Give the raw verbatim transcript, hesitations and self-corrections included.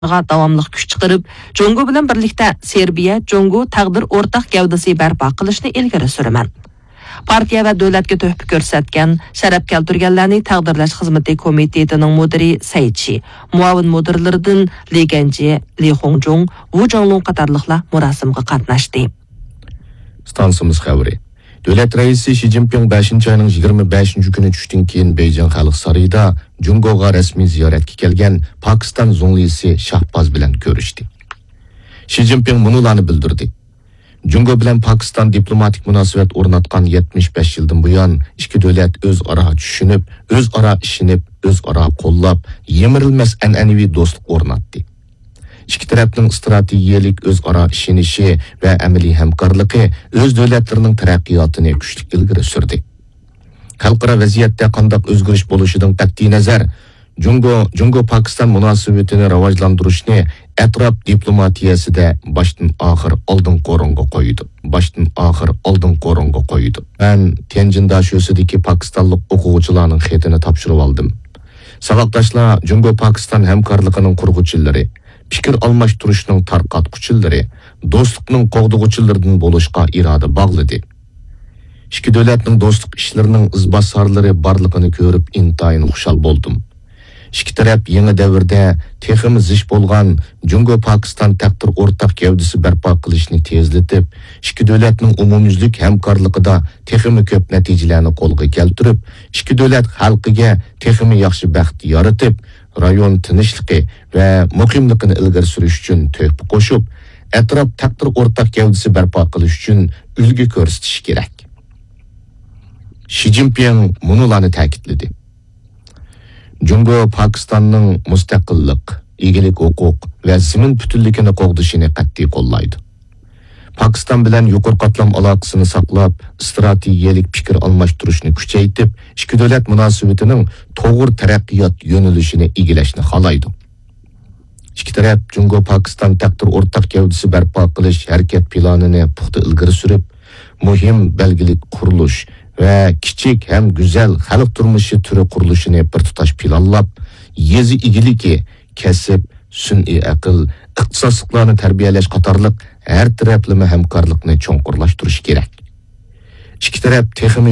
داۋاملىق كۈچ چىقىرىپ، جۇڭگو بىلەن بىرلىكتە سېربىيە جۇڭگو تەقدىر ئورتاق گەۋدىسى بەرپا قىلىشنى ئىلگىرى سۈرىمەن. پارتىيە ۋە دۆلەتكە تۆھپە كۆرسەتكەن، شەرەپ كەلتۈرگەنلەرنى تەقدىرلەش خىزمىتى كومىتېتىنىڭ مۇدىرى سەي چى، مۇئاۋىن مۇدىرلىرىدىن لى گەنجى، لى خۇڭجۇڭ، ۋۇ جاڭلۇڭ قاتارلىقلار مۇراسىمغا قاتناشتى. ئىستانسىمىز خەۋىرى. دۆلەت رەئىسى شى جىنپىڭ بەشىنچى ئاينىڭ يىگىرمە بەشىنچى كۈنى چۈشتىن كېيىن بېيجىڭ خەلق سارىيىدا جۇڭگوغا رەسمىي زىيارەتكە كەلگەن پاكىستان زۇڭلىسى شاھباز بىلەن كۆرۈشتى. شى جىنپىڭ مۇنۇلارنى بىلدۈردى: جۇڭگو بىلەن پاكىستان دىپلوماتىك مۇناسىۋەت ئورناتقان يەتمىش بەش يىلدىن بۇيان، ئىككى دۆلەت ئۆزئارا چۈشىنىپ، ئۆزئارا ئىشىنىپ، ئۆزئارا قوللاپ، يىمىرىلمەس ئەنئەنىۋى دوستلۇق ئورناتتى. ئىككى تەرەپنىڭ ئىستراتېگىيەلىك ئۆزئارا ئىشىنىشى ۋە ئەمەلىي ھەمكارلىقى ئۆز دۆلەتلىرىنىڭ تەرەققىياتىنى كۈچلۈك ئىلگىرى سۈردى. خەلقئارا ۋەزىيەتتە قانداق ئۆزگىرىش بولۇشىدىن قەتئىينەزەر، جۇڭگو، جۇڭگو پاكىستان مۇناسىۋىتىنى راۋاجلاندۇرۇشنى ئەتراپ دىپلوماتىيەسىدە باشتىن ئاخىر ئالدىنقى ئورۇنغا قويىدۇ. باشتىن ئاخىر ئالدىنقى ئورۇنغا قويىدۇ. مەن تيەنجىن داشۆسىدىكى پاكىستانلىق ئوقۇغۇچىلارنىڭ خېتىنى تاپشۇرۇۋالدىم. ساۋاقداشلار جۇڭگو پاكىستان ھەمكارلىقىنىڭ قۇرغۇچىلىرى، پىكىر ئالماشتۇرۇشنىڭ تارقاتقۇچىلىرى، دوستلۇقنىڭ قوغدىغۇچىلىرىدىن بولۇشقا ئىرادە باغلىدى. ئىككى دۆلەتنىڭ دوستلۇق ئىشلىرىنىڭ ئىزباسارلىرى بارلىقىنى كۆرۈپ ئىنتايىن خۇشال بولدۇم. ئىككى تەرەپ يېڭى دەۋردە تېخىمۇ زىچ بولغان جۇڭگو پاكىستان تەقدىر ئورتاق گەۋدىسى بەرپا قىلىشنى تېزلىتىپ، ئىككى دۆلەتنىڭ ئومۇميۈزلۈك ھەمكارلىقىدا تېخىمۇ كۆپ نەتىجىلەرنى قولغا كەلتۈرۈپ، ئىككى دۆلەت خەلقىگە تېخىمۇ ياخشى بەخت يارىتىپ، رايون تىنچلىقى ۋە مۇقىملىقىنى ئىلگىرى سۈرۈش ئۈچۈن تۆھپە قوشۇپ، ئەتراپ تەقدىر ئورتاق گەۋدىسى بەرپا قىلىش ئۈچۈن ئۈلگە كۆرسىتىشى كېرەك. شى جىنپىڭ مۇنۇلارنى تەكىتلىدى: جۇڭگو پاكىستاننىڭ مۇستەقىللىق، ئىگىلىك ھوقۇق ۋە زېمىن پۈتۈنلۈكىنى قوغدىشىنى قەتئىي قوللايدۇ. پاكىستان بىلەن يۇقىرى قاتلام ئالاقىسىنى ساقلاپ، ئىستراتېگىيەلىك پىكىر ئالماشتۇرۇشنى كۈچەيتىپ، ئىككى دۆلەت مۇناسىۋىتىنىڭ توغرا تەرەققىيات يۆنىلىشىنى ئىگىلەشنى خالايدۇ. ئىككى تەرەپ جۇڭگو پاكىستان تەقدىر ئورتاق گەۋدىسى بەرپا قىلىش ھەرىكەت پىلانىنى پۇختا ئىلگىرى سۈرۈپ، مۇھىم بەلگىلىك قۇرۇلۇش ۋە كىچىك ھەم گۈزەل خەلق تۇرمۇشى تۈرى قۇرۇلۇشىنى بىر تۇتاش پىلانلاپ، يېزا ئىگىلىكى، كەسىپ، سۈنئىي ئەقىل، ئىختىساسلىقلارنى تەربىيەلەش قاتارلىق ھەر تەرەپلىمە ھەمكارلىقنى چوڭقۇرلاشتۇرۇش كېرەك. ئىككى تەرەپ تېخىمۇ